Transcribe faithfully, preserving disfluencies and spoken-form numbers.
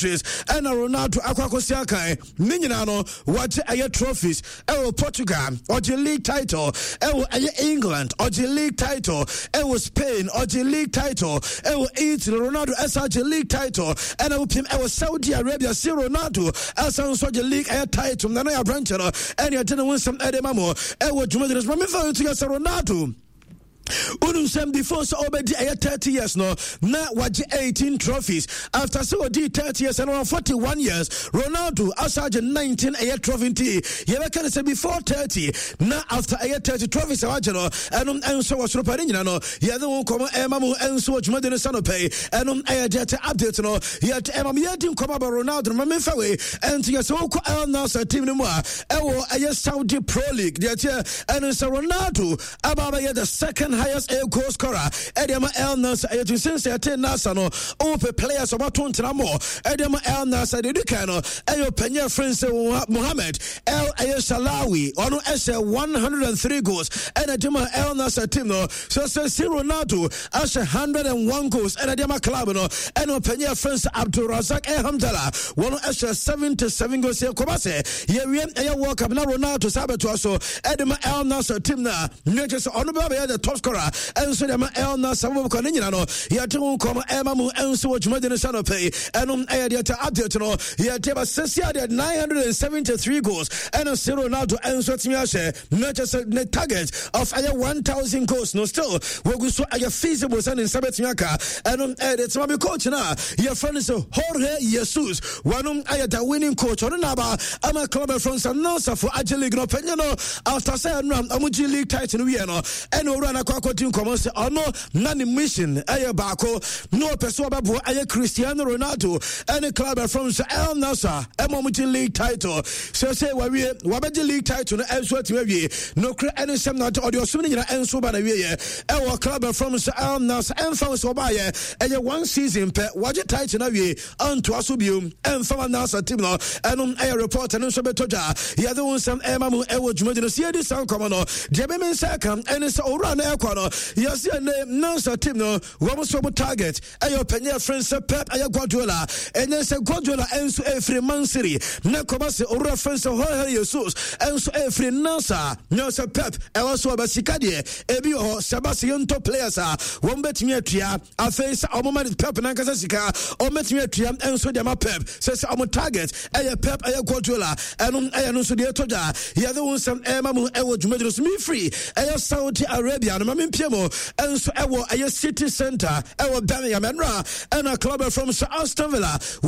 Ɛna Ronaldo akɔ akɔsi akan ne nyinaa no, wagye ɛyɛ trophies ɛwɔ Portugal, ɔgye league title ɛwɔ ɛyɛ England, ɔgye league title ɛwɔ Spain, ɔgye league title ɛwɔ Italy. Ronaldo ɛsa gye league title ɛna wopiem ɛwɔ Saudi Arabia. Si Ronaldo ɛsa nso gye league ɛyɛ title na no yɛ aberɛnkyɛ no ɛne ɛde ne ho nsɛm ɛde ma mo ɛwɔ dwumadie no so. Ma memfa nto yɛ sɛ Ronaldo, wonim sɛm, before sɛ ɔbɛdi ɛyɛ thirty years no, na wagye eighteen trophies. After sɛ ɔdii thirty years ɛno forty-one years, Ronaldo asa agye nineteen ɛyɛ trophy. Nti yɛbɛka no sɛ before thirty na after ɛyɛ thirty, trophies a wagye no ɛno ɛnso wɔ soro pa. Ne nyina no yɛde wo nkɔmmɔ ɛma mu ɛnso wɔ dwumadi no sa no pɛi. Ɛno ɛyɛ deɛ te update no yɛde ɛma me. Yɛdi nkɔmmɔ aba Ronaldo no, ma memfa wei ɛnti yɛ sɛ wokɔ Al Nassr team no mu a ɛwɔ ɛyɛ Saudi Pro League, deɛ teɛ ɛno sɛ Ronaldo aba bɛyɛ the second highest a goal scorer ɛde ama El Nassr. Ɛyɛ tun sɛ ɛte Nassr no, ɔwɔpɛ players ɔbɛto ntena mɔ ɛde ama El Nassr. Deɛ di kan no ɛyɛ ɔpanyin afrɛ sɛ Mohamed El ɛyɛ Shalawi, ɔno ɛhyɛ one hundred and three goals ɛna de ma El Nassr team no. So sɛ si Ronaldo ahyɛ one hundred and one goals ɛna de ama club no, ɛna ɔpanyin afrɛ sɛ Abdulrazak Alhamdulillah, wɔn ɛhyɛ seventy-seven goals. Yɛ kɔba sɛ yɛwie ɛyɛ World Cup na Ronaldo saa bɛtoa so ɛde ma El Nassr team no a, ne kyerɛ sɛ ɔno bɛba bɛyɛ the top scorer ɛnso de ma El Nassr. Bɔbɔkɔ ne nyina no yɛte ho nkɔmɔ ɛma mu ɛnso wɔ dwumadi no sɛ no pɛi. Ɛno ɛyɛ deɛ tɛ update no yɛte ba sɛsi adeɛ. nine hundred seventy-three goals ɛna sɛ Ronaldo ɛnso atumi ahyɛ, na kyerɛ sɛ ne target of ɛyɛ one thousand goals no still wɔgu so ɛyɛ feasible sɛ ne nsa bɛtumi aka. Ɛno ɛyɛ deɛ tema bi. Coach no a yɛfrɛ no sɛ Jorge Jesus, wɔnom ɛyɛ the winning coach. Ɔno naba ama club ɛfrɛ sɛ Nassrfo agye league no. Ɔpanyin no, after sɛ ɛno a ɔmo gye league title no wie no, ɛna owura no akɔ akɔdi nkɔmmɔ sɛ ɔno na ne mission ɛyɛ baako na ɔpɛ sɛ ɔbɛboa ɛyɛ Cristiano Ronaldo ɛne club ɛfrɛ sɛ El Nassr ɛma ɔmo gye league title. Sɛ sɛ wawie, wabɛgye league title no ɛnso atumi awie. Nokorɛ ɛne nsɛm na ɔde ɔsom no nyina ɛnso ba na wieɛ ɛwɔ club ɛfrɛ sɛ El Nassr. Ɛmfa wo sɛ ɔbaayɛ ɛyɛ one season pɛ, wagye title no awie, antoa so biom ɛmfa ma Nassr team no. Ɛno ɛyɛ report no nso bɛtɔ dwa. Yɛde wo nsɛm ɛma mu ɛwɔ dwumadi no so. Yɛdi saa nkɔmmɔ no deɛ, bɛme nsa ka ɛne sɛ owura no ɛkɔ no, yɛse ɛne Nassr team no, wɔn nso wɔn target ɛyɛ ɔpanyin ɛfrɛ sɛ Pep ɛyɛ Guardiola. Ɛnyɛ sɛ Guardiola ɛnso ɛfiri Man City na kɔba sɛ owura frɛ sɛ Jorge Jesus ɛnso ɛfiri Nassr na sɛ Pep ɛwɔ so ɔbɛ sika deɛ ebi wɔ hɔ sɛ ba sɛ yɛntɔ players a wɔn bɛtumi atua. Afei sɛ ɔmo ma Pep nankasa sika, ɔmo bɛtumi atua ɛnso deɛ ma Pep sɛ sɛ ɔmo target ɛyɛ Pep ɛyɛ Guardiola. Ɛno ɛyɛ no nso deɛ ɛtɔ dwa. Yɛde wo nsɛm ɛma mu ɛwɔ dwumadie no so. Mefiri ɛyɛ Saudi Arabia no, ma mempie mu ɛnso ɛwɔ ɛyɛ city center ɛwɔ Birmingham. Ɛnora ɛna club from sɛ Aston Villa